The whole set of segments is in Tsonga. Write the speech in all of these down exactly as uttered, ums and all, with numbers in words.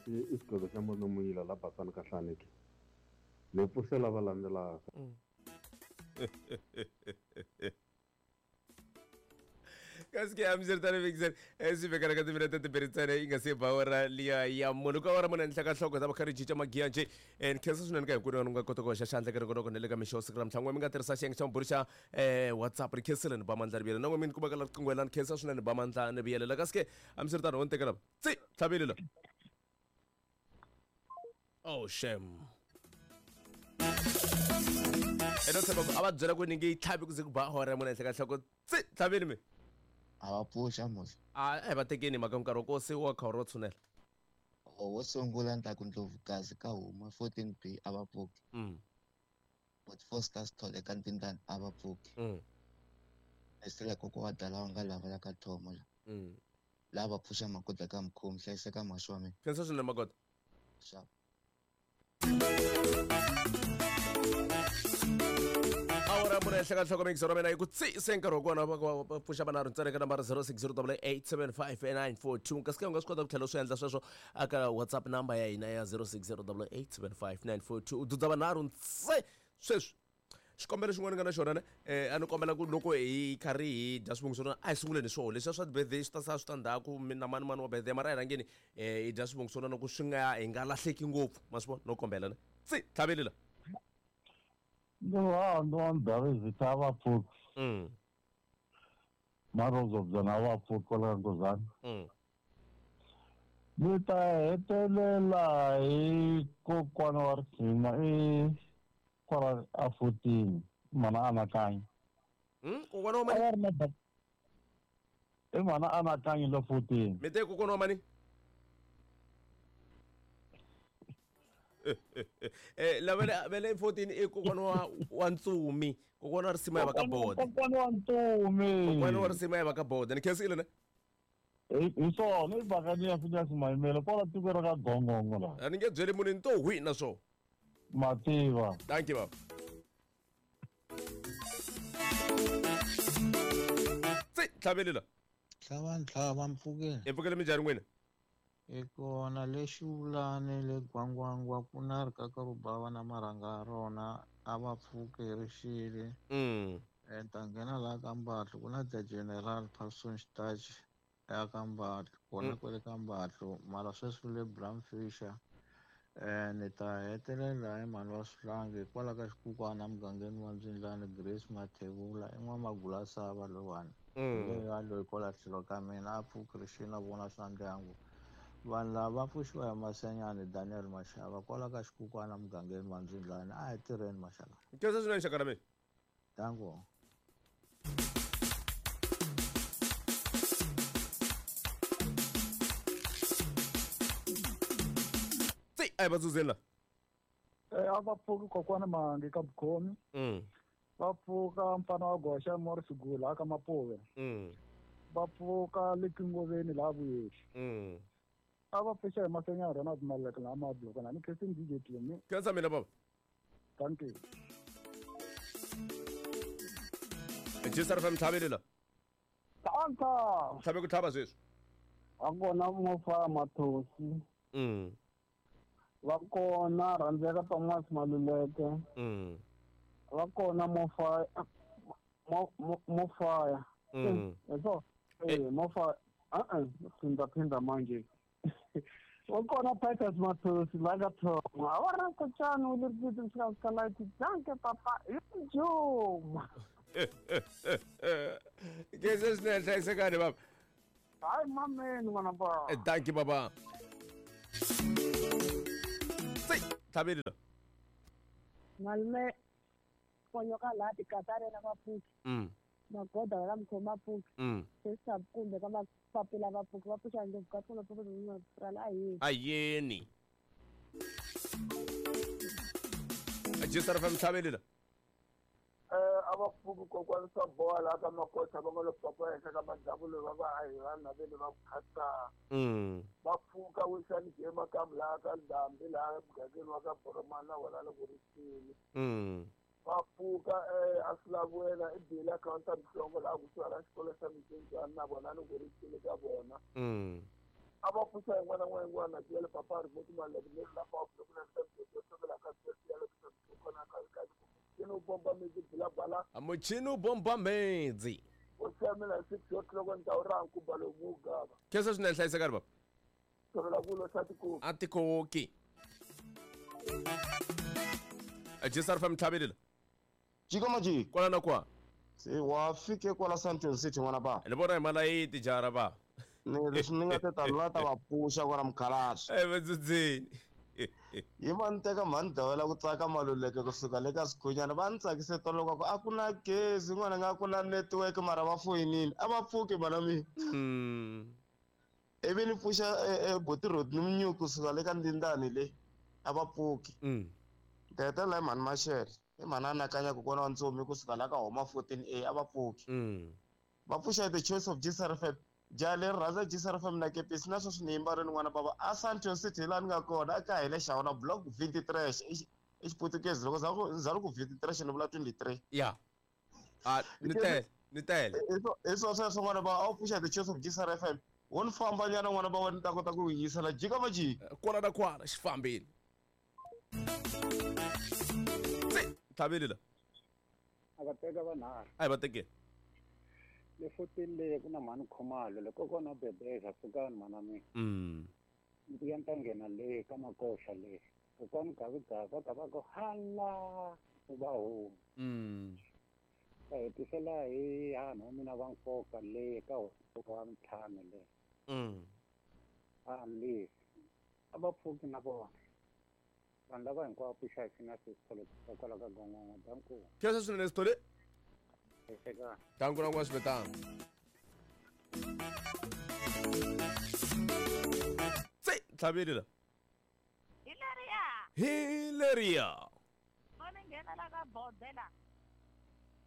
I xigwevo xa manomuyila la basani ka hlaneke. Ni pfuxela va landzelaka. Kasi ke amsir tani mixer swi vekana ka timinete timbirhi ntsena yi nga se ba awara liya ya munhu ku awara mune henhla ka nhloko ta va kha ri cinca magiya njhe. Ni khensa swinene ka hinkwenu u nga kota ku hoxa xandla ka ringonoko na le ka mixo siku ra mtlhangu mi nga tirhisa xiyenge xa maburi xa WhatsApp. Ri khensile ni ba mandla ni vuyelela na n'we mi ni kumaka la riqingho la ni khensa swinene ni ba mandla ni vuyelela. Kasi ke hambiswiritano wo ni teka lava tsi tlhaveli la. Oh shame. Eno tshemba ku a va byela ku ni nge yi tlhavi ku ze ku ba awara ya mune henhla ka nhloko tsi tlhaveli mi. A va pfuxa mos. A a hi va tekeni mhaka nkarhi wa ko se wa kha ro tshunela. Wo sungula ni ta ku Ndlovukazi ka huma fourteen B a va pfuki. Mm. But four stars thole ka Ntindani a va pfuki. Mm. Esela koko wa dala wa nga lava la ka thomo la. Mm. Lava pfuxa magoda ka mkhomi hlayiseka maxo wa mina. Khensa swinene magoda. Sharp. Awara mune henhla ka nhloko mixer wa mina yi ku tsi se nkarhi wa kona va pfuxa vanharhu ntsena ka nambara zero six zero eight seven five nine four two. Kasi ke u nga swi kota ku tlhela u swi endla sweswo aka WhatsApp number ya hina ya zero six zero eight seven five nine four two. U dudza vanharhu ntse sweswi. Xikombelo xin'wana nga na xona ne eh a ni kombela ku loko hi karhi hi dya swivongo swa a hi sunguleni swona leswiya swa birthday swi ta sala swi ta ndzhaku mina mani mani wa birthday mara hi rhangeni eh hi dya swivongo swa loko swi nga hi nga lahleki ngopfu ma swi vona no kombela ne tsi tlhaveli la. No, no, Ndabezitha va pfuki. Mm. Marozo byona va pfuki kwala Ngozana. Mm. Ni ta hetelela hi kokwana wa risima i kwala a fourteen mana anakanya. Mm, kokwana wa mani? I mana anakanya lo fourteen. Mi te kokwana wa mani? Eh la vele vele fourteen i kokwana wa wa Ntsumi, kokwana wa risima ya va ka Bode. Kokwana wa Ntsumi. Kokwana wa risima ya va ka Bode. Ni khensile ne? Hi swona i bakani ya Phineas Maimela kwala tiko ra ka Gongongo la. A ni nge byeli munhu ni to hwi na swona. Mativa. Thank you baba. Tsi tlhaveli la. Tlhava ntlhava mpfukeni. Hi pfukele minjhani n'wina? Hi kona le Xivulani le Gwangwangwa ku na rikaka ro bava na marhanga ya rona a va pfuki hi rixile. Mm. Ta nghena laha ka Mbatlo ku na the General Parson Xitachi ya ka Mbatlo kona kwale ka Mbatlo mara sweswi le Bram Fisher. Eh ni ta hetelela hi mhani wa Swihlangi kwala ka Xikukwana mugangeni wa Ndzindlani Grace Mathebula i n'wamagulasava lowani. Leyi loyi kwala tlhelo ka mina a pfuki rixile na vona swa ndyangu. Vanhu lava va pfuxiwa hi Masenyani Daniel Mashava kwala ka Xikukwana mugangeni wa Ndzindlani a hi tirheni Mashava. Khensa swinene xaka ra mina. Danko. Tsi a hi va dzudzeni la. Eh a va pfuki kokwana Mangi ka Bukhomi. Mm. Va pfuka mfana wa Goxa Morris Gula ka Mapuve. Mm. Va pfuka le Kingoveni laha Vuyexi. Mm. A va pfuxa hi Masenyana Ronald Maleka laha Mabloko na ni Christine D J Tumi. Khensa mina baba. Thank you. G S R F M tlhaveli la. Tanta. Tlhave ku tlhava sweswi. A kona Mofa Mathosi. Mm. Va kona Rhandzeka Thomas Maluleke. Mm. Va kona Mofa Mofaya. Mm. Eso. Eh Mofa eh eh phinda phinda manje. Va kona Titus Mathosi la ka Thoma. A va ri kochani u le ri swi ka light danke papa. Juma. Khensa swinene hlayisekani baba. Hayi mameni n'wana ba. Thank you baba. Tsi tlhaveli la. Malume ponyoka laha tikatare na vapfuki. Mm. Magoda la mkhoma pfuki. Mm. Sesa kumbe ka mapapila va pfuki va pfuxa ndlopfu ka tona pfuki na a yini. A yini. G S R F M tlhaveli la. Eh a va pfuki kokwana swa boha laha ka Makotha va nga lo papa henhla ka madzavulo va va a hi vanhu lavele va phata. Mm. Va pfuka wisani jema ka laha ka Ndhambi laha mugangeni wa ka Boromana wona loko ri xile. Mm. Va pfuka eh a swi lavi i bile akhawunti ya Mhlongo laha kusuhi na xikolo xa Mcinjani na vona loko ri xile ka vona. Mm. A va pfuxa yin'wana na yin'wana ya le papa ri moti mali le la pa ku na ta ku la ka ya le ku kona ka ka ku bomba mezi bila bala. A muchini bomba mezi. O samela six o'clock on tawra ku balo muga. Kesa swinene hlayiseka ri baba. Tsovela kulo sa tiko. A tikoki. A J S R F M tlhabelela. Jiko maji. Kwala na kwa. Se wa fike kwala Sandton City n'wana ba. Ni vona hi malayiti jara ba. Ni leswi ni nga ta ta la ta va pfuxa kwala mukhalabye. Eh vadzudzeni. Yi va ni teka mhani dawela ku tsaka Maluleke kusuka le ka Sikhunyana va ni tsakise tolo ku a ku na gezi n'wana nga ku na network mara va foyinini a va pfuki mana mina. Mm. Ivi ni pfuxa buti Rodney Munyuku kusuka le ka Ndindani le a va pfuki. Mm. Ni hetelela hi mhani Mashele i mhani anakanya kokwana wa Ntsomi kusuka la ka Homa fourteen A a va pfuki. Mm. Va pfuxa the choice of G S R F M. Jaha leri rhandza G S R F M na kepisi na sweswi ni yimba rini n'wana bava a Sandton City hi laha ni nga kona a ka hi le Xawana block twenty-three i Xiputukezi loko za ku za ku twenty-three ni vula twenty-three. Ya. Ah ni tele ni tele. Hi swo sweswo n'wana bava a wu pfuxa the choice of G S R F M wo ni famba nyana n'wana bava ni ta kota ku yisela jika va jika. Kwala na kwala xi fambile. Tlhabelela. A va teka vanharhu. A hi va teke. Le fourteen leyi ku na mhani Khumalo le kokwana Bebeza pfukani mhana mina. Mm. Ni ku ya ni ta nghena le ka Makoxa le. Kokwani Gavigavi va ka va ku hala ku va huma. Mm. Va hetisela hi hanhu wa mina va nkoka le ka wa ntlhanu le. Mm. A le. A va pfuki na vona. Vanhu lava hinkwavo pfuxa hi na Sithole kwala ka Gongongo danku. Khensa swinene Sithole. Eka. Danku na n'wana swivetana. Tse tlhabelela. Hi leriya. Hi leriya. Vona nghena la ka bodela.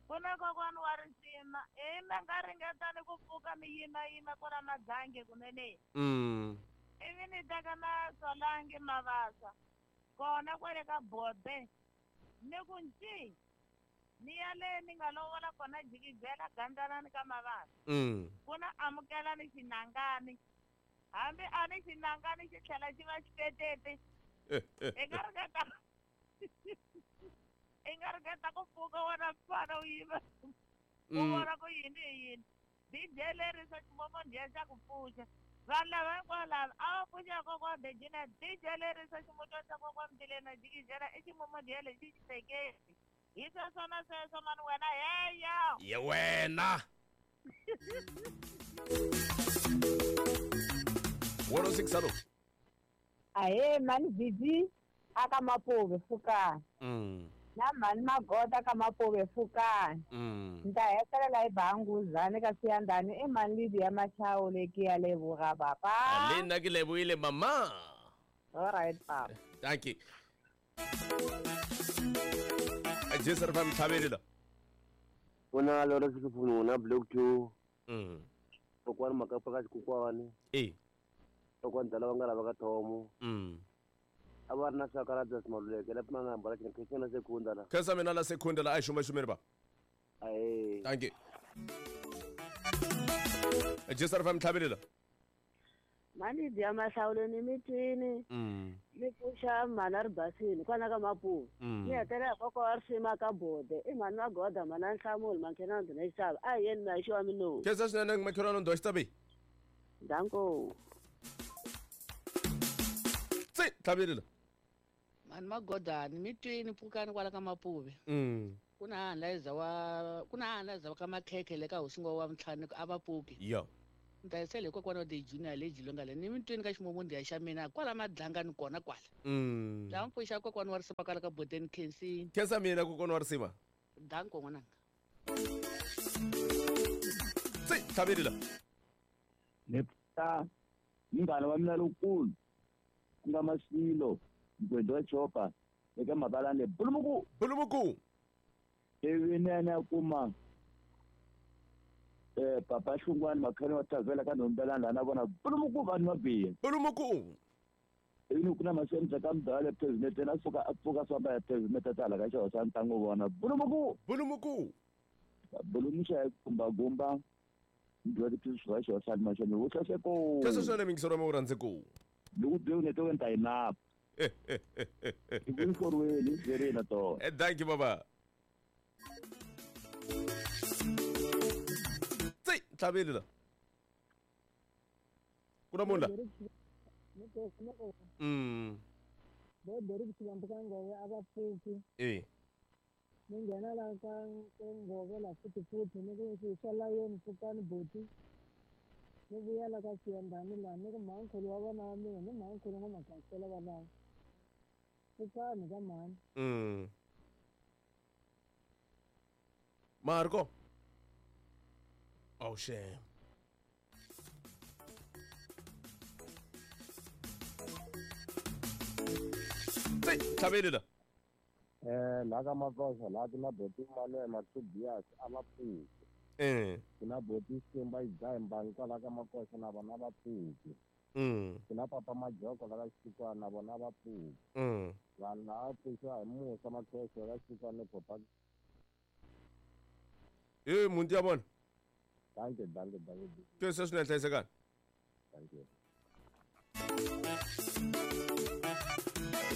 Ku na kokwana wa risima i na nga ringeta ni ku pfuka ni yima yima kwala Madlange kunene. Mm. Ivi ni teka na Solange Mavasa. Kona kwale ka bode. Ni ku nci. Ni ya le ni nga lovola kona jikijela gandzanani ka Mavasa. Mm. Ku na amukela ni xinangani. Hambi a ni xinangani xi tlhela xi va xitetete. I nga ringeta i nga ringeta ku pfuka wena mfana u yima. U vona ku yini hi yini. D J lerisa ximomondiya xa ku pfuxa. Vanhu lava hinkwavo lava a va pfuxa kokwana Dejina D J lerisa ximutwana xa kokwana Mtileni jikijela i ximomondiya lexi xi teketi. Hi sweswona sweswo mani wena heyo. Ye wena. one oh six hello. Ahe mani Vivi aka Mapove pfukani. Mm. Na mhani Magota ka Mapove pfukani. Mm. Ni ta hetelela hi Banguzani ka Siyandhani i mhani Lydia Machao le ke ya leboga papa. Le nna ke lebohile mama. All right papa. Thank you. J S R F M tlhabelela. Kuna lora sikufunu na block two. Mm. Kokwana makapa ka xikukwana. Eh. Kokwana dala va nga lava ka thomo. Mm. A va ri na swakarata Maluleke la pima na mbala xina na sekunda la. Khensa mina la sekunda la a hi xuma xumeni ba. Ahe. Thank you. J S R F M tlhabelela. Mani dya mahlawulo ni mitini. Mm. Ni pfuxa mhani ri basini kwala ka Mapuve. Mm. Ni hetelela kokwa wa risima ka bode i mhani Magoda mhani a Nhlamulo makhelwani ndzi na xitava a hi yeni na xiwa minomu. Khensa swinene makhelwani ndo xitavi. Danko. Tse tlhabelela. Mhani Magoda ni mitwini pfukani kwala ka Mapuve. Mm. Ku na hanlaiza wa ku na hanlaiza wa ka Makhekhe le ka hosingo wa ntlhanu a va pfuki. Yo. Ni ta yisela hi kokwana wa the junior le Jilonga le ni mitweni ka ximomondiya xa mina kwala Madlangani kona kwala. Mm. Ta n'wi pfuxa kokwana wa risima kwala ka Bodeni Khensini. Khensa mina kokwana wa risima. Danko n'wananga. Tse tlhabelela. Ni pfuxa munghana wa mina lowukulu ku nga Masilo Mgwedi wa Chopa eka Mabalane Bulumuku. Bulumuku. Ivi ni ya ni ya kuma eh papa Hlungwani Makhani wa Tavela ka Nhombelani laha na vona Bulumuku vanhu va biha. Bulumuku. Ivi ni ku na masendza ka mudala president na suka a pfuka famba ya president ta hala ka xihosana ni ta n'wi vona Bulumuku. Bulumuku. Bulumuxa hi gumba gumba Ndi wa tiphiso swa swa mashani wo hlaseko. Kesho swona mingisoro mo rhandze ku. Loko byo ne to nta ina. Ikunkorweni zerena to. Eh thank you baba. Tsi tlabele la. Kuna munda. Mm. Bo deri kulambuka abapfuki. Eh. Ninghena la ka ngove la futhi futhi ni ku swi la yeni pfukani buti. Ni vuya la ka siyandani la ni ku mhankhulu wa vana wa mina ni mhankhulu nga magasela va lava. Pfukani ka mhani. Mm. Marco. Oh shame. Tsi tlabele la. Eh la ka Makosa la ku na boti Manuel Matubias a va pfuki. Eh ku na boti Simba Idzaimba kwala ka Makosa na vona va pfuki. Mm. Ku na papa Majoko la ka Xikwana na vona va pfuki. Mm. Vanhu lava pfuxiwa hi Musa Makheshe la Xikwana ni papa. Eh mundi ya vona. Thank you, thank you, thank you. Kesho swinene hlayisekani. Thank you.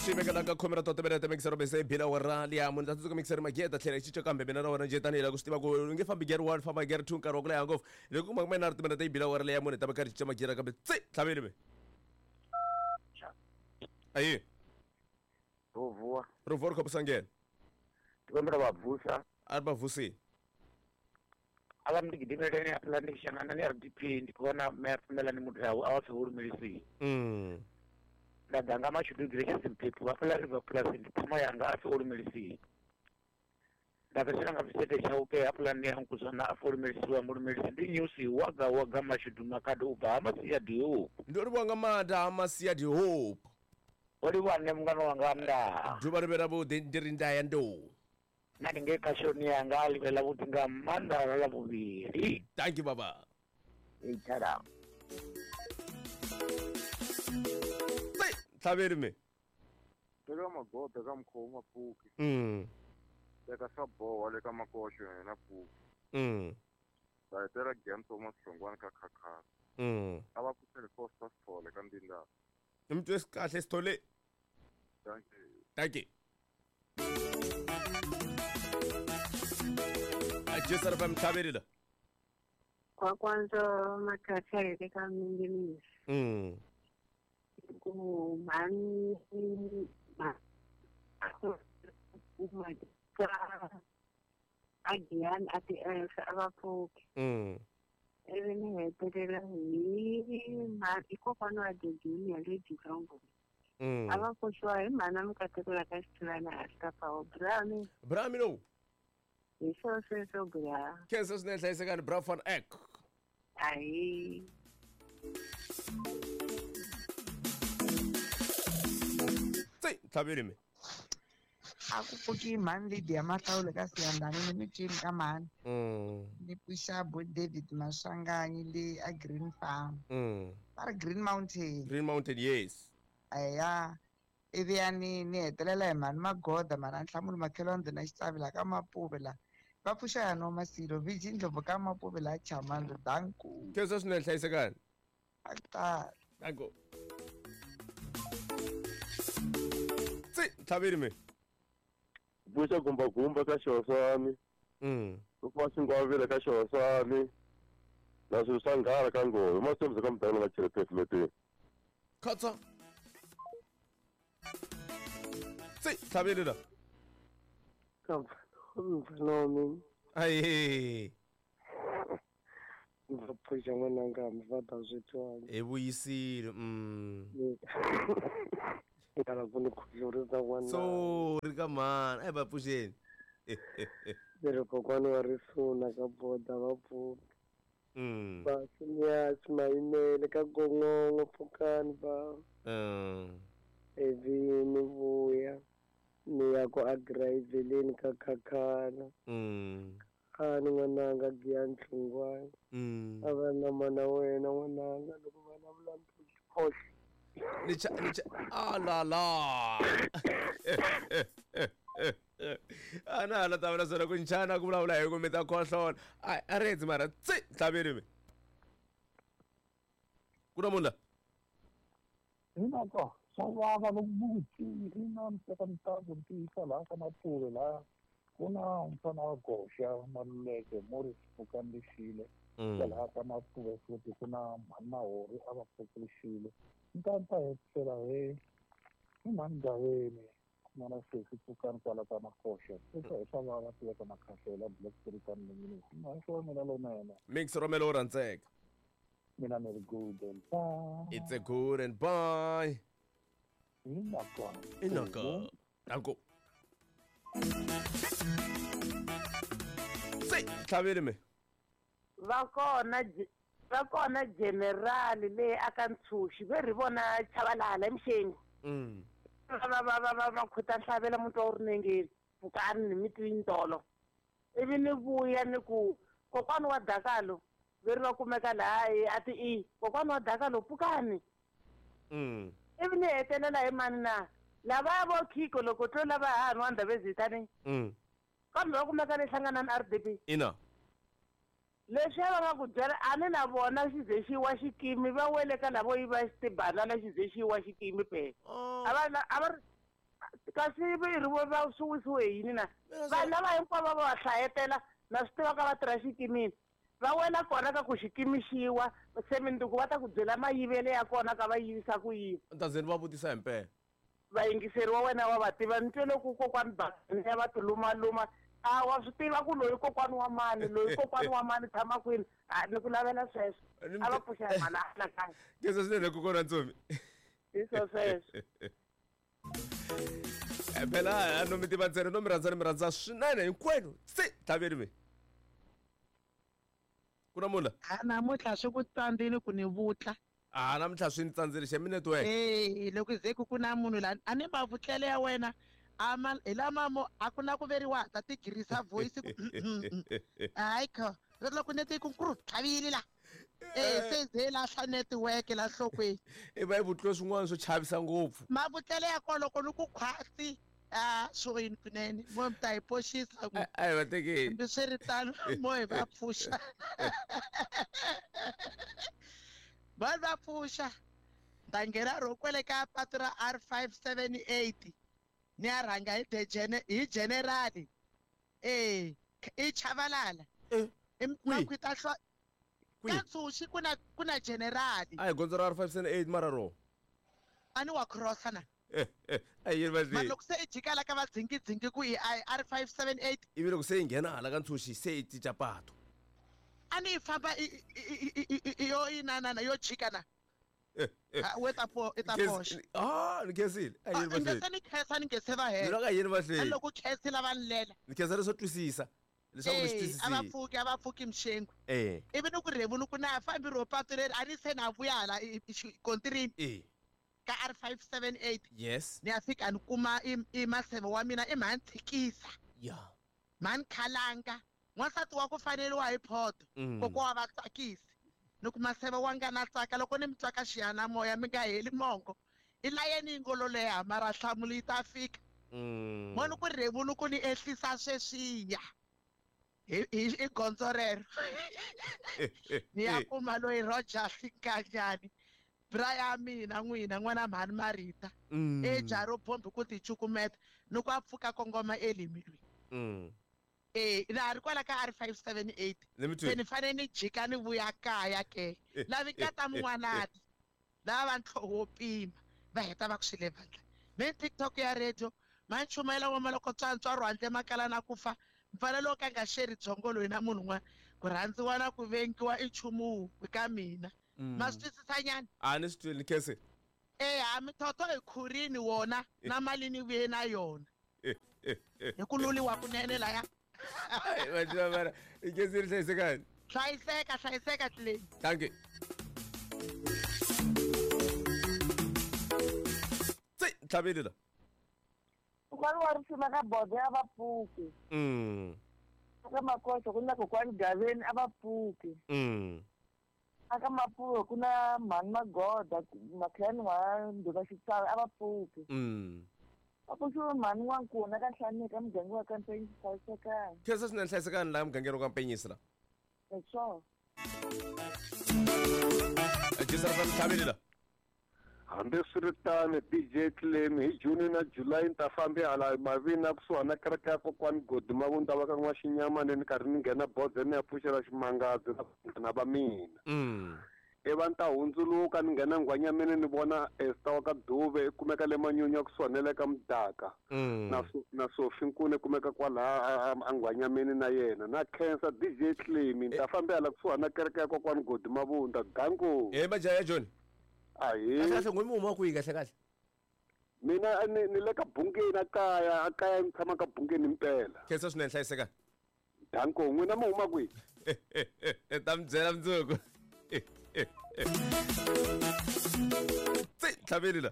Xi veka la ka khomera to tebele ta mixer bese bila wa rali ya munhu ta tsundzuka mixer mageta tlhela xi kambe mina na wena njhe tanihi la ku swi tiva ku u nge fambi gear one famba gear two nkarhi wa ku leha ngopfu loko kuma kumbe na ri timena ta yi bila wa rali ya munhu ta va karhi cinca magira kambe tsi tlhaveli me ayi Rovuwa Rovuwa ri khopisangene tikombela va vusa a ri va vusini ala ndi gidimeleni afula ndi xangana ni R D P ndi kona me pfumela ni mudlawu a wa swi mm nda ḓa nga mashudu Gracious Mphephu vha fhaḽa River Plus ndi ṱhama yanga a pfi o lumelisiwa. Nda fhedzisela nga Visete Chauke hafhaḽa nṋe ya Nkuzwana a pfi o lumelisiwa mulumelisi ndi Nyusi waga waga mashudu makhado u bva ha Masia Diop. Ndo livhuwa nga maanḓa ha Masia Diop. O livhuwa nṋe mungana wanga nda. Ḓuvha ḽi vhe ḽavhuḓi ndi ri nda ya ndou. Na ndi ngei khashoni yanga a ḽi vhe ḽavhuḓi nga maanḓa ḽa ḽavhuvhili. Thank you baba. Ei thala. Tlhaveli me. Teka magoda ka mukhomo mapfuki. Mm. Teka swa boha le ka Makoxo yena pfuki. Mm. Va hetela Gem Thomas Hlongwane ka Khakhasa. Mm. A va pfuxele Costa Sithole ka Ndindana. Ni mi twe kahle Sithole. Thank you. Thank you. Ajesa ra mtlhaveli la. Kwakwanzo makhathi le ka Minginisi. Mm. Ku mhani ma a Giyani a ti a va pfuki. Mm. Ivi ni hetelela hi mhani kokwana wa The Junior le Jilongo. Mm. A va pfuxiwa hi mhana Mukateko la ka Xitshilani a Xitapawo Brami. Brami lowu. Hi swo sweswo bra. Khensa swinene hlayisekani Bra van Eck. Ahi. Tsi tlhaveli me. A ku pfuki mhani Lydia Mahlawule ka Siyandhani ni mitweni ka mhani. Mm. Ni pfuxa bo David Maswanganyi le a Green Farm. Mm. Va ri Green Mountain. Green Mountain yes. Eya ivi ya ni ni hetelela hi mhani Magoda mara Nhlamulo Makhelwani na Xitsavi la ka Mapuve la. Va pfuxa ya no Masilo Viji Ndlovu ka Mapuve la Chamando danku. Khensa swinene hlayisekani. A ta. Danko. Tsi tlhaveli me. Pfuxa gumbagumba ka Xihoswani. Mm. Ku fa xingwavila ka Xihoswani. Na swilo swa nghala ka Nghozi. Masithembiso ka mudanga nga chele pefleteni. Khatsa. Tsi tlhaveli la. Ka mfana wa mina. Ayi. Ndzi pfuxa n'wananga hambi va ta swi twangi. Hi vuyisile. Mm. Ngala ku ni khohlorisa n'wana. Sorry ka mhani a hi va pfuxeni. Leri kokwana wa risuna ka boda va pfuka. Mm. Va Phineas Mayimele ka Gongongo pfukani va. Mm. Ivi ni vuya ni ya ku agirayiveleni ka Khakhana. Mm. A ni n'wananga Giyani Hlongwane. Mm. A va na mana wena n'wananga loko va vulavula khohlo. Ni cha ni cha ah la la. A na la ta vula swona ku nchana ku vulavula hi ku mi ta khohlola. A a ri endzi mara tsi tlhaveli me. Ku na munhu la Hinako swa vava loko buti ina mteka mtaku ntiyisa laha ka Mapuve laha ku na mfana wa goxa Maluleke Morris Pfukani-Lexile kwalaha ka Mapuve futhi ku na mhani Mahori a va pfuki-Lexile ni ta ni ta hetisela hi hi mhani Gaveni n'wana sesi Pfukani kwala ka Makoxa sweswo hi swa vava tiveka Makhahlela Block three ka Mninginisi mhaxo wa mina lowunene Mix Romelo wo rhandzeka mina ni ri good and bye It's a good and bye Inaka Inaka Danko Se tlhaveli me va kona va kona general leyi aka Ntshuxi ve ri vona Chabalala emixeni mm va va va va va khuta hlavela muntu wa rinengeni pfukani ni mitwini tolo ivi ni vuya ni ku kokwana wa Dakalo ve ri va kumeka laha a ti i kokwana wa Dakalo pfukani mm ivi ni hetelela hi mani na lava vo khiko loko tlo lava ha nwa Ndabezitani mm kambe va kumeka ni hlangana na R D P ina leswi va nga ku byela a ni na vona xize xi wa xikimi va wele ka lavo yiva tibanana xize xi wa xikimi phela a va a va kasi vi ri vo va swi wisiwe hi yini na vanhu lava hinkwavo va va hlayetela na swi tiva ka va tirha xikimini va wela kona ka ku xikimi xiwa se minduku va ta ku byela mayivele ya kona ka va yivisa ku yini ntazeni va vutisa hi mpela vayingiseri wa wena wa va tiva ni twele ku kokwani bakani ya va tilumaluma a wa swi tiva ku loyi kokwani wa mani loyi kokwani wa mani tshama kwini a ni ku lavela sweswo a va pfuxa hi mhana anakanya kesa swinene kokwana Ntsomi hi swo sweswo phela a no mi tiva ntsena no mi rhandza ni mi rhandza swinene hinkwenu se tlhaveli me ku na munhu la a namuntlha swi ku tsandzile ku ni vutla a namuntlha swi ni tsandzile xemi network e loko ze ku ku na munhu la a ni mavutlele ya wena ama hi lama mo a ku na ku veriwa ta tigirisa voice ku hayi kho loko nete ku nkuru tlhavile la e se ze lahla network la nhlokweni i va i vutliwe swin'wana swo chavisa ngopfu mavutlele ya kona loko ni ku khwatsi a swo yini kunene mo mi ta hi poxisa ku a hi va tekeni hambi swi ri tano mo hi va pfuxa vanhu va pfuxa ta nghena ro kwele ka patu ra R five seven eight ni ya rhanga hi hi general e i Chabalala makhwita hlwa ka Ntshuxi ku na ku na general a hi gondzo ra R five seven eight mara ro a ni wa crossa na a yi va mara loko se i jika la ka va dzingidzingi ku i R five seven eight ivi loko se yi nghena hala ka Ntshuxi se yi cinca pato a ni yi famba yo inanana yo jika na we ta po i ta poxa ah ni khensile a yini va se ni khensa ni nge se va hela ni loko a yini va hleli loko khensile va lela ni khensa leswo twisisa leswaku ni swi twisisile a va pfuki a va pfuki mxengu eh ivi ni ku rhevu ni ku na fambi ro patu leri a ni se na vuya hala kontirini eh ka R five seven eight yes ni ya fika ni kuma i maseve wa mina i mhani tshikisa ya mhani khalanga n'wansati wa ku faneriwa hi photo kokwa wa va tsakisi ni ku maseve wa nga na tsaka loko ni mi tsaka xiyanimoya mi nga heli mongo i layeni yi ngo lo leha mara nhlamulo yi ta fika mo ni ku rhevu ni ku ni ehlisa sweswiya hi i gondzo rero ni ya kuma loyi Roger Sinkanyani bra ya mina n'wina n'wana mhani Marita e jaro bombi ku ti cukumeta ni ku a pfuka kongoma elimilweni e na ri kwala ka R five seven eight se ni fanele ni jika ni vuya kaya ke lavi nkata mun'wanati lava va ntlhoho wo pima va heta va ku swi le vandla me TikTok ya radio ma nchumayela wa maloko tswantswa rwandle makala na ku fa mfanelo wo ka nga xeri byongo loyi na munhu un'wana ku rhandziwa na ku vengiwa i nchumu wun'we ka mina ma swi twisisanyana a ni swi twile ni khensile e ha mithotho hi khurini wona na mali ni vuye na yona hi ku luliwa kunene laya mara i khensile hlayisekani hlayiseka hlayiseka tlileni thank you se tlhaveli la Kokwani wa risima ka bodo a va pfuki mm aka Makoxa ku na kokwani Gaveni a va pfuki mm aka Mapuve ku na mhani Magoda Makhiyani wa Ndhuka Xitsavi a va pfuki mm va pfuxiwe mhani N'wankuna ka Nhlaneka muganga wa ka Mpenyisi hlayisekani khensa swinene hlayisekani laha mugangeni wa ka Mpenyisi la hi swona Jisara fa mtlhaveli la. Hambiswiritano D J Claim hi June na July ni ta fambi hala mavina kusuhana na kereke ya kokwani Godi Mavunda va ka N'waxinyamani ni karhi ni nghena bodze ni ya pfuxela ximangadzo na vanghana va mina. Mm. Ivi ni ta hundzuluka ni nghena Nghwanyameni ni vona Esther wa ka Dube i kumeka le Manyunya kusuhana na le ka Mudaka. Mm. Na na Sophie Nkuna i kumeka kwalaha a Nghwanyameni na yena. Na khensa D J Claim ni ta fambi hala kusuhana na kereke ya kokwani Godi Mavunda. Danko. Eh majaha ya John. Ahe. Kahle kahle n'wi mi huma kwihi kahle kahle? Mina ni ni le ka Bungeni a kaya, a kaya ni tshama ka Bungeni impela. Khensa swinene hlayiseka. Danko, n'wina mi huma kwihi? Ta mi byela mundzuku. Tsi tlhaveli la.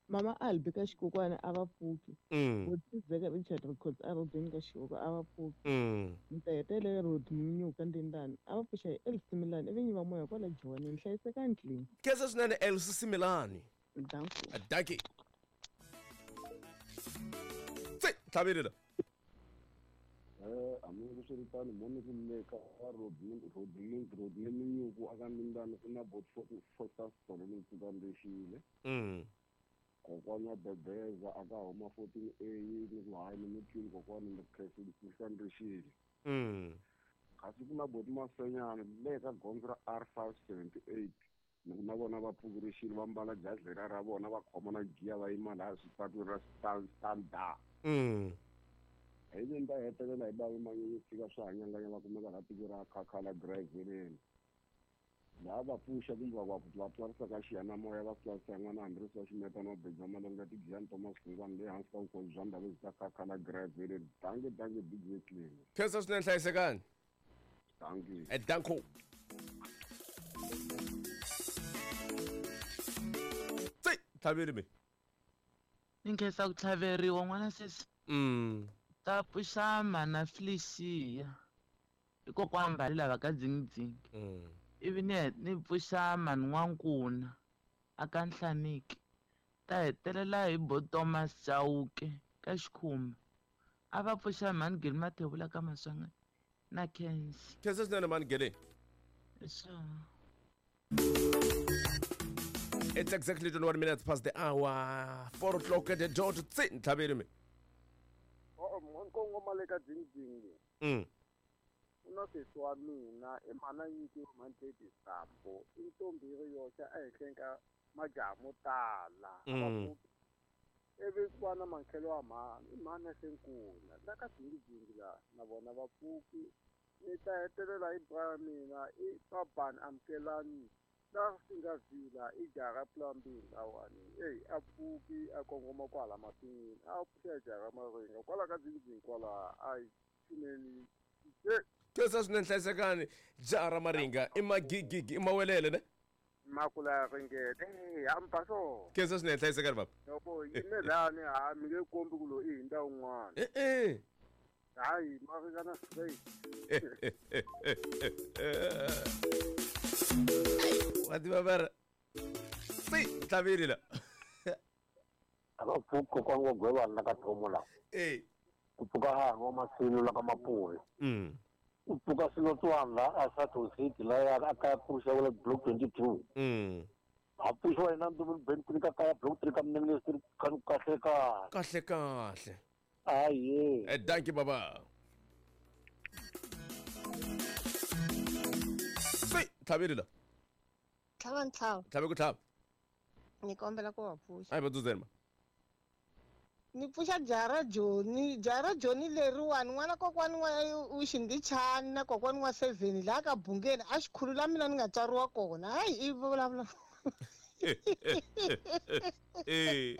Mama Albi ka xikokwana a va pfuki. Mm. Vutizeka Richard Records a va beni ka xikoko a va pfuki. Mm. Ni ta hetelela Road Munyuka Ndendani a va pfuxa hi Elsie Similani ivi nyiva moya kwala Joni hlayiseka ndlwini. Khensa swinene Elsie Similani. Danko. Dankie. Tsi tlhaveli la. Eh hambiswiritano moni ku le ka Road Road Road Munyuku aka Ndendani ku na bot Foster Solo ni pfuka Mm. Kokwana wa Bebeza aka huma fourteen A ni ku hayi ni mutwile kokwana ni khensa Mm. Kasi ku na boti Masenyana le ka gondzo ra R five seventy eight ni ku na vona va pfukurixile va mbala jazi leriya ra vona va khoma na giya va yima laha swipatwini ra standard. Mm. Hi ni ta hetelela hi bavi Manyunyu fika swi hanyanganya va kumeka laha tiko ra Khakhala Driveleni. Laha va pfuxa kumbe va va twarisa ka xiyanimoya va twarisa n'wana Andres wa Ximeta na Beja Malenga Tigiyani Thomas Hlungwane le hansi ka vukosi bya ndhawu bya Khakhala Driveleni. Danke danke D J Claim. Khensa swinene hlayisekani. Danke. Eh danko. Tsi tlhaveli mi. Ni khensa ku tlhaveriwa n'wana sesi. Mm. Ta pfuxa mana Felicia. I kokwana Mbali lava ka Dzingidzingi. Mm. Ivi ni ni pfuxa mani N'wankuna aka Nhlaniki. Ta hetelela hi bo Thomas Chauke ka Xikhumba. A va pfuxa mani Geli Mathebula ka Maswanganyi na Khensa. Khensa swinene mani Geli. Sure. It's exactly twenty-one minutes past the hour. Four o'clock at the dot. Tsi ntlhaveli mi. Oh, nkongoma le ka Dzingidzingi. Mm. U na sesi wa mina i mhana nyiki Mandledi Sambo i ntombi yi ri yoxe ehenhleni ka majaha mo tala. Mm. Ivi ku va na mankhelo wa mhani i mhani ya Senkuna la ka Dzingidzingi la na vona va pfuki. Ni ta hetelela hi bra ya mina i Babani Amukelani la Singavila i jaha ra Plumbing lawani eyi a pfuki a kongoma kwala masin'wini a pfuxa jaha ra Maringa kwala ka Dzingidzingi kwala a yi pfuneni. Khensa swinene hlayisekani jaha ra Maringa i magigigi i mawelele ne. Makula ya ringete hamba so. Khensa swinene hlayisekani baba. Loko yime lani ha mi nge kombi ku loyi i hundza un'wana. Eh eh. Hayi ma ringana straight. Wa tiva va ri tsi tlhaveli la. A va pfuki kokwana wa Gwevana la ka Thomo la. Eh. Ku pfuka hahani wa Masilo la ka Mapuve. Mm. Ku pfuka Silotswana la a Sato City la ya a kaya pfuxa wala block twenty-two. Mm. A pfuxiwa yena Ndumbuni Ben three ka kaya block three ka Mnene Street kahle kahle. Kahle kahle. Aye. Eh dankie baba. Tsi tlhaveli la. Tlhava ntlhava. Tlhave ku tlhava. Ni kombela ku va pfuxa. Ayi va dzudzeni ma. Ni pfuxa jaha ra Joni, jaha ra Joni leriwani n'wana kokwani wa u Xindichani na kokwani wa seven laha ka Bungeni a xikhulu la mina ni nga tswariwa kona. Hayi i vulavula. Eh.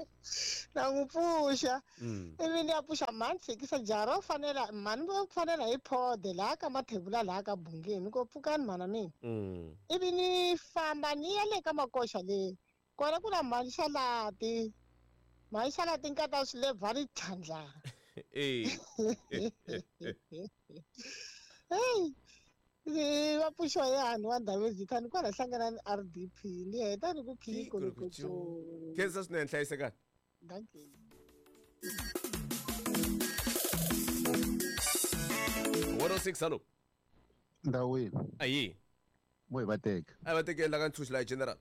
Na n'wi pfuxa. Mm. Ivi ni ya pfuxa mhani tshikisa jaha ro fanela mhani vo fanela hi phode laha ka Mathebula laha ka Bungeni ko pfukani mhana mina. Mm. Ivi ni famba ni ya le ka Makoxa le. Kona ku na mhani Xalati. Mhani Xalati nkata swilebva ri tlhandla. Eh. Hey. Ni va pfuxiwa hi hani wa Ndhavezitha ni kwala hlangana ni R D P ni heta ni ku khikolokotso. Khensa swinene hlayisekani. Dankie. one oh six hello. Ndawini. Ayi. Mo hi va teka. A va tekela ka ntshunxo la general.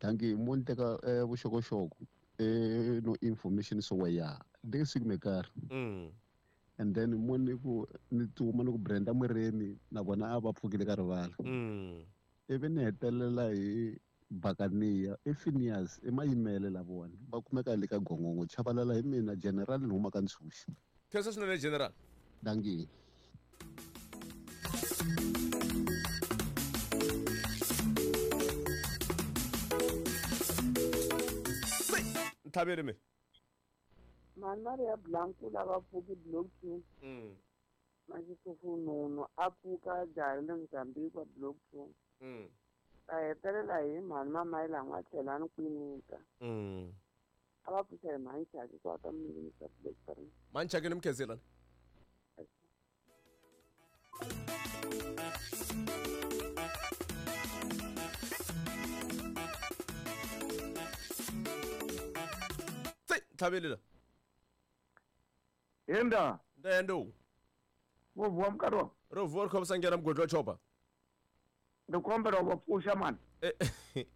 Thank you. Mo ni teka eh vuxokoxoko eh no information so ya. Ndzi siku mekar. Mm. And then mo ni ku ni tuma ni ku Brenda Muremi na vona a va pfukile ka rivala. Mm. Ivi ni hetelela hi Bakania i Phineas i mayimele la vona va kumeka le ka Gongongo Chabalala hi mina general ni huma ka ntshunxo. Khensa swinene general. Dankie. Ntlhaveri mi. Mhani Maria Blanco lava pfuki block two. Mm. Maxisufununu a pfuka jaha le Mozambique block two. Mm. A hetelela hi mhani Mamayila N'watlhelani Kwinika. Mm. A va pfuxa hi mhani Chaki kwa ka Mninginisa block three. Mhani Chaki ni mukhenselani. Ntlhaveli la. Yenda. Ndendo. Wo vuwa mkarhi wa. Ro vuwa ri khomisa nghena mugodi wa chopa. Ndzi kombela u va pfuxa mani. Eh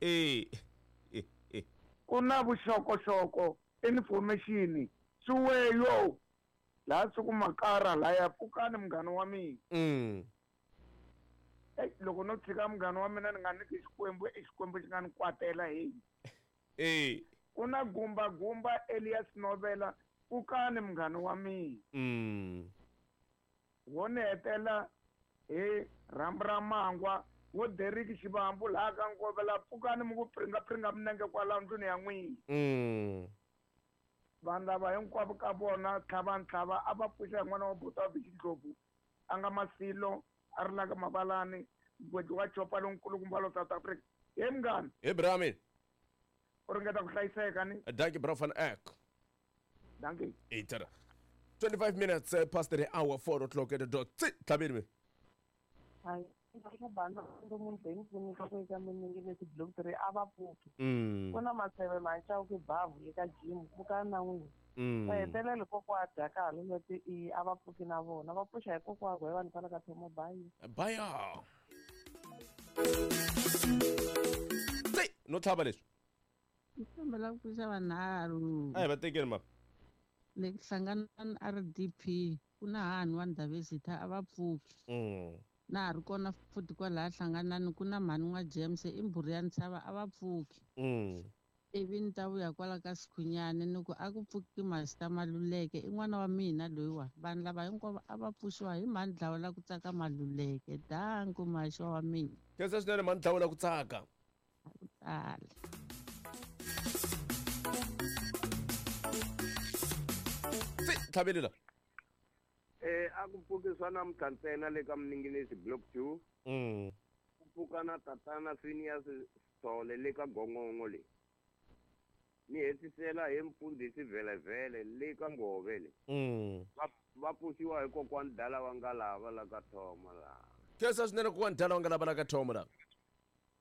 eh. Ku na vuxokoxoko information swiweyo laha swi ku makara laya pfukani munghana wa mina. Mm. Ey loko no tshika munghana wa mina ni nga nyiki Xikwembu i Xikwembu xi nga ni kwatela hey. Eh. Ku na gumba gumba Elias Novela pfukani munghana wa mina. Mm. Wo ni hetela hi rhambu ra mangwa wo Derek Xivambu laha ka Ngovela pfukani mi ku pringa pringa minenge kwala ndlwini ya n'wina. Mm. Vanhu lava hinkwavo ka vona tlhava ntlhava a va pfuxa hi n'wana wa buti wa Bixindlovu a nga Masilo a ri la ka Mabalani mugwedi wa chopa lonkulukumba lo South Africa. He munghana. He Brahmin. U ringeta ku hlayiseka ni. Dankie bro van Eck. Dankie. Itara. twenty-five minutes uh, past the hour four o'clock at the dot. Ntlhaveri mi. Hayi eka bana ndo munhu leyi pfunika ku eka Miningilesi block three a va pfuki. Mm. Ku na maseve Machauke bavu eka gym pfukani na n'wina. Mm. Va hetelele kokwa dya ka leti i a va pfuki na vona va pfuxa hi kokwa wa vanhu kwala ka Thomo Bayi. Baya. Tsi, no tlhava leswi. Ni kombela ku pfuxa vanharhu. A hi va tekeni ma. Le hlangana R D P ku na hani wa Ndhavezitha a va pfuki. Mm. Na ha ri kona futhi kwalaha hlanganani ku na mhani n'wa James i mbhuri ya ntshava a va pfuki. Mm. Ivi ni ta vuya kwala ka Sikhunyani ni ku a ku pfuki Master Maluleke i n'wana wa mina loyiwa vanhu lava hinkwavo a va pfuxiwa hi mhani Dlawula ku tsaka Maluleke danku maxa wa mina. Khensa swinene mhani Dlawula ku tsaka. Ku tala. Tsi, ntlhaveli la. Eh a ku pfuki swa namuntlha ntsena le ka Mninginisi block two. Mm. Ku pfuka na tatana Phineas Sithole le ka Gongongo le. Ni hetisela hi mfundhisi Vhelevhele le ka Ngove le. Mm. Va va pfuxiwa hi kokwani Dala wa Ngalava la ka Thoma la. Khensa swinene kokwani Dala wa Ngalava la ka Thoma la.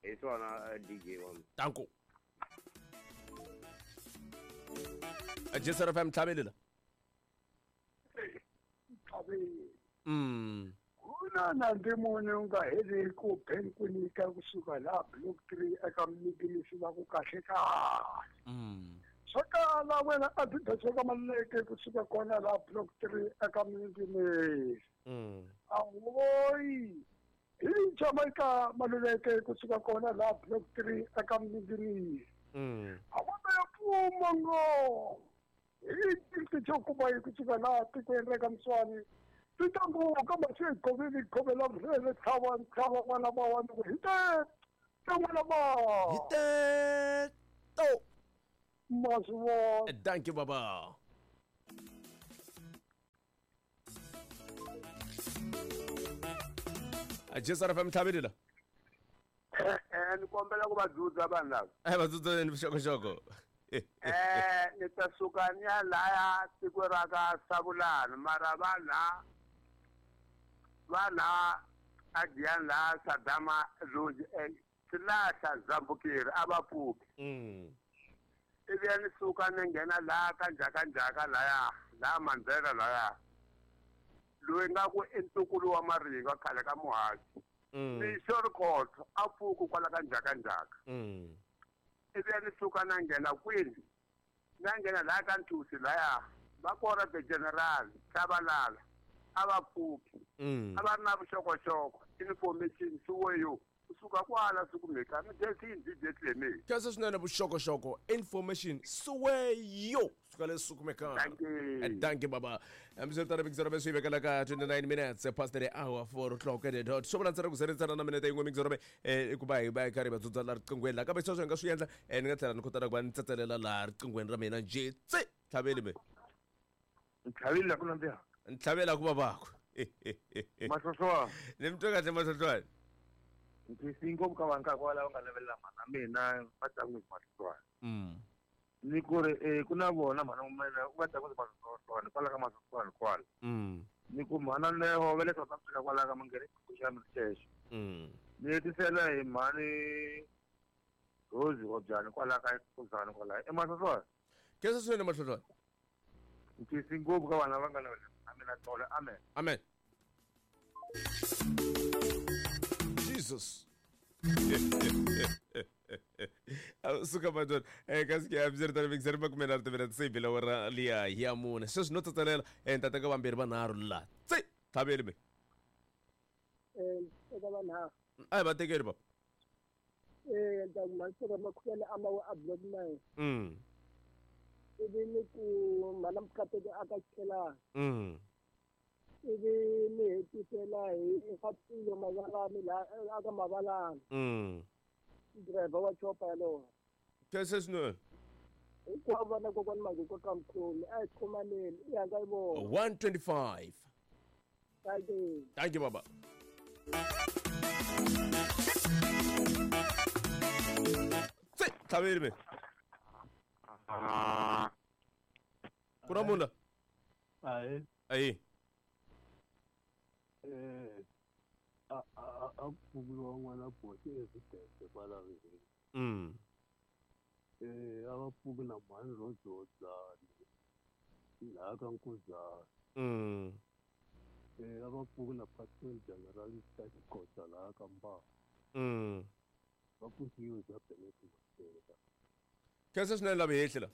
Hi swona D J wa mina. Danko. Jesara F M ntlhaveli la. Mm. Kuna na ndimoni u nga heli ku benkunika kusuka laha block three eka Mninginisi va ku kahle kahle. Mm. Swo tala wena a byi dyodzeka Maluleke kusuka kona laha block three eka Mninginisi. Mm. Ahoyi hi Jamaica Maluleke kusuka kona laha block three eka Mninginisi. Mm. A va ya pfuma ngo. Hi tintijokuba hi kusuka laha tikweni ra ka Mswani. Titangu kama swi goveli govela vhele tlhava ntlhava n'wana va wa ni hi te te n'wana va hi te to ma swi vona. Thank you baba. Jesara F M ntlhaveli la. Eh ni kombela ku va dzudza vanhu lava. A va dzudza ni vuxokoxoko. Eh ni ta suka ni ya laya tiko ra ka Savulani mara va la va la a Giyani la Sadama Lodge Silahla Zambukiri a va pfuki. Mm. Ivi ya ni suka ni nghena laha ka Njhakanjhaka laya laha Mandzela laya loyi nga ku i ntukulu wa Maringa khale ka muhaxi. Ni xorikhoto a pfuku kwala ka ndzhakandzhaka. Ivi ni suka na nghena kwini na nghena laha ka Nthusi laya va kora the general Tshabalala a va pfuki a va ri na vuxokoxoko information suweyo kusuka kwala sukumeka ni desini D J Cleme. Khensa swinene vuxokoxoko information suweyo suka le sukumeka. Thank you baba. Hambiswiritano mixero me swi vekela ka twenty-nine minutes past the hour four o'clock at the dot. Swo vula ntsena ku zeretsana na minete yin'we mixero me i ku va hi va hi karhi va dzudza la riqinghweni la kambe sweswo hi nga swi endla ni nga tlhela ni kotana ku va ni tsetselela laha riqinghweni ra mina njhe tse tlhaveli me. Ntlhaveli la ku nandziha. Ntlhavela ku va vaku. Mahlohlwana. Ni mi twe kahle mahlohlwana. Ndzi ngopfu ka vanhu ka kwala va nga lavelela mhana mina va tlangu hi mahlohlwana. Mm. Ni ku ri eh ku na vona mhana mina u va tlangu hi mahlohlwana kwala ka mahlohlwana kwala. Mm. Ni ku mhana leho va le South Africa kwala ka Mangere ku xa mixexo. Mm. Ni hetisela hi mhani Rose Robyani kwala ka Kuzani kwala. E mahlohlwana. Khensa swinene mahlohlwana. Ndzi ngopfu ka vana va nga lavelela mhana mina tolo. Amen. Amen. Jesus. Suka madon eh kasi ke abzerta mixer ba kumela ri se bila wara liya ya mune sweswi no tsatsalela eh tata ka vambirhi vanharhu la tse tlhaveli me eh eka vanharhu a hi va tekeli baba eh nta masika makhuyana ama wa block nine mm ivi ni ku mana mkateke aka chela mm ivi ni hetisela hi Fatilo Mavalani la aka Mavalani mm driver wa chopa yalowo khensa swinene hinkwavo vana kokwani Mazukwa ka Mkhomi a hi khomaneni i hanga yi vona one twenty-five. Thank you. Thank you baba. Tse tlhaveli me. Ku na munhu la? Ayi. Ayi. Eh a a a pfukiwa n'wana bosi evidence kwala ririmi. Mm. Eh a va pfuki na mhani Rojodzani laha ka Nkuzana. Mm. Eh a va pfuki na Pastor General Xikotsa laha ka Mbaa. Mm. Va pfukiwe bya Bennett Masela. Khensa swinene lava hehli la.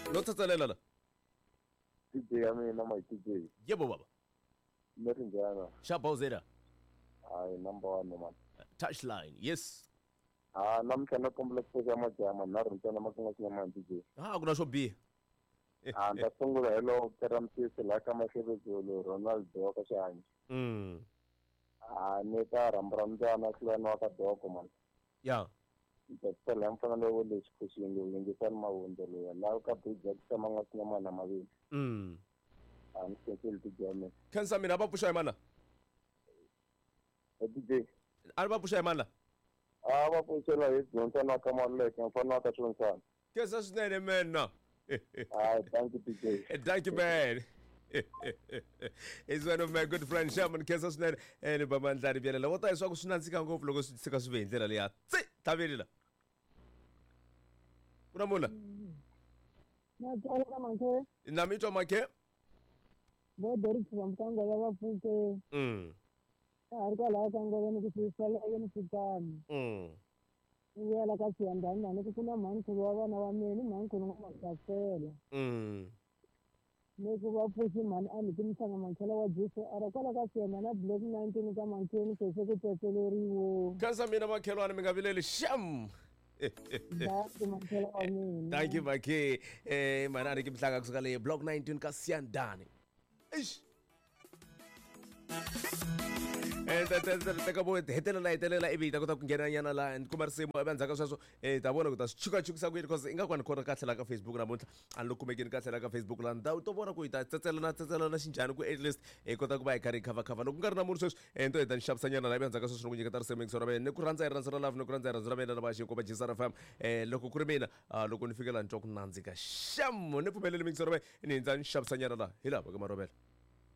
No tsatsalela la. D J ya mina my D J. Yebo baba. Mi ri njhani? Xa Bowzera. Hayi number one man. Touchline. Yes. Ah namuntlha na kombela ku pfuxa majaha manharhu ntsena ma ku nga xinamani D J. Ah ku na swo biha. Ah ni ta sungula hi lowo Pera Mtisi laha ka Mahlebezulu Ronaldo wa ka Xihanyi. Mm. Ah ni ta rhamba ra mbyana hlulani wa ka Doko man. Ya. Ndzi mfana lowo le xikhuxini yingisani mavundzo loya laha ka bridge ya ku tshama nga xinamana mavili. Mm. A ni khenseli D J ya mina. Khensa mina va pfuxa hi mani la? D J. A va pfuxa hi mani la? A va pfuxela hi Johnson wa ka Maluleke mfana wa ka Xonsana. Khensa swinene mena. Hayi thank you D J. Thank you man. Is one of my good friends Shaman khensa swinene ni ba mandlari byelela wo ta leswaku swi nandzika ngopfu loko swi tshika swi ve hi ndlela leya tse tlhaveli la. Ku na munhu la? Na tsala ka Makhe. Na mi twa Makhe? Vo Doris Vamkanga va va pfuke. Mm. Ka ha ri kwalaya ka Ngove ni ku swi yini pfukani. Mm. Ni vuyela ka Siyandhani ni ku ku na mhankulu wa vana va mina ni mhankulu wa Makasela. Mm. Ni ku va pfuxi mhani a ni ti mhlanga Mankhela wa G C R kwala ka Siyandhani block nineteen ka Mankheni se se ku tsetseleriwo. Khensa mina makhelwani mi nga vileli xam. Thank you Makhe. Eh mana ni kimhlanga kusuka le block nineteen ka Siyandhani. Eish. Eh ta ta ta ka bo hetelela hetelela ivi ta kota ku nghena nyana la ni kuma risimu ivi endzhaku ka sweswo eh ta vona ku ta swi chukachukisa ku yini because ingaku a ni khona kahle la ka Facebook namuntlha a ni lo kumekeni kahle la ka Facebook la ndhawu to vona ku hi ta tsetselana tsetselana xinjhani ku at least hi kota ku va hi karhi hi khavhakhava loko ku nga ri na munhu sweswi eh ni to heta ni xavisa nyana la ivi endzhaku ka sweswo ni ku nyiketa risimu yingiselo ra mina ni ku rhandza hi rhandza ra love ni ku rhandza hi rhandza ra mina na va xinko va G S R F M eh loko ku ri mina loko ni fika la ni twa ku nandzika xam ni pfumeleli yingiselo ra mina ni hindza ni xavisa nyana la hi lava ka marhobela.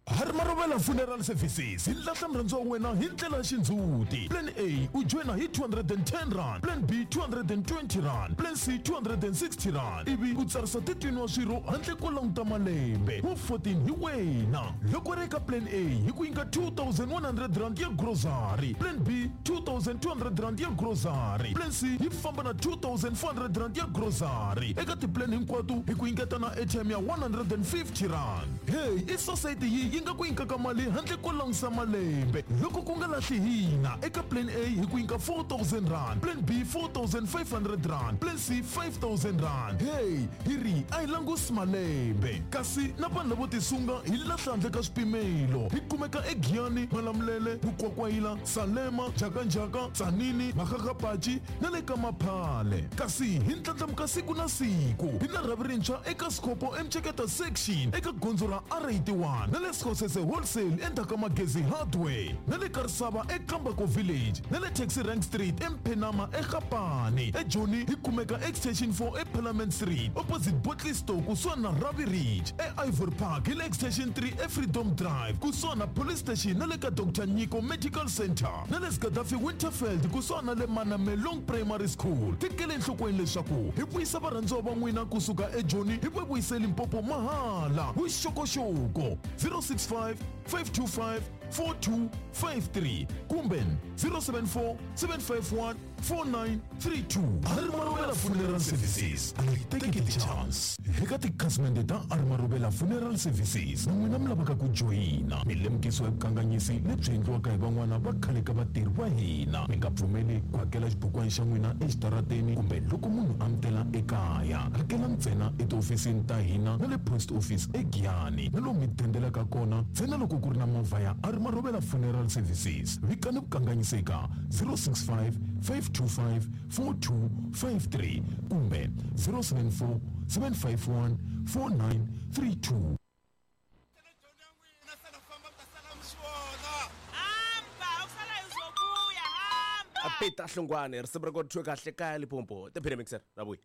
Harimarovela Funeral Services hi lahla murhandziwa wa wena hi ndlela ya xindzhuti. Plan A u joyina hi two hundred and ten rand, Plan B two hundred and twenty rand, Plan C two hundred and sixty rand, ivi u tsarisa thirteen wa swirho handle ko languta malembe wu fourteen hi wena. Loko ri eka Plan A hi ku nyika two thousand one hundred rand ya grocery, Plan B two thousand two hundred rand ya grocery, Plan C yi famba na two thousand four hundred rand ya grocery. Eka tiplan hinkwato hi ku nyiketa na airtime ya one hundred and fifty rand. Hey, i society yi yi nga ku nyikaka mali handle ko langusa malembe. Loko ku nga lahli hina eka Plan A hi ku nyika four thousand rand, Plan B four thousand five hundred rand, Plan C five thousand rand. Hey, hi ri a hi langusi malembe. Kasi na vanhu lavo tisunga hi lahla handle ka swipimelo. Hi kumeka eGiyani, Malamulele, Mukwakwayila, Salema, Jakanjaka, Tsanini, Makgakgapachi na le ka Maphale. Kasi hi ndlandlamuka siku na siku. Hi na rhavi rintshwa eka Sikopo eMceketa section eka gondzo ra R eighty-one na le Skhosese Wholesale endzhaku ka Magezi Hardware na le Karisava eKambako Village na le Taxi Rank Street eMphenama eGapane. eJoni hi kumeka Extension four eParliament Street opposite Botley Store kusuhani na Ravi Ridge. E-Ivory Park hi le Extension three eFreedom Drive kusuhani na Police Station na le ka Doctor Nyiko Medical Center na le Gaddafi Winterfeld kusuhani na le Manamelong Primary School. Tekele enhlokweni leswaku hi vuyisa varhandziwa va n'wina kusuka eJoni hi va vuyise Limpopo mahala. Vuxokoxoko zero six five, five two five, four two five three kumbe zero seven four, seven five one, four nine three two. Harimarovela Funeral Services a hi teki ti-chance. Eka tikhasimende ta Harimarovela Funeral Services na n'wina mi lavaka ku joyina, mi lemukisiwa hi vukanganyisi lebyi endliwaka hi van'wana va khale ka vatirhi va hina. Mi nga pfumeli ku hakela xibukwana xa n'wina exitarateni kumbe loko munhu a mi tela ekaya. Hakela ntsena etihofisini ta hina na le post office eGiyani na lomu mi dendelaka kona ntsena loko ku ri na movha ya Harimarovela Funeral Services. Vikani vukanganyisi eka zero six five, five two five, four two five three kumbe zero seven four, seven five one, four nine three two. Peter Hlongwane risimu ra kona thwe kahle kaya Limpopo. Tiphine mixer ra vuya.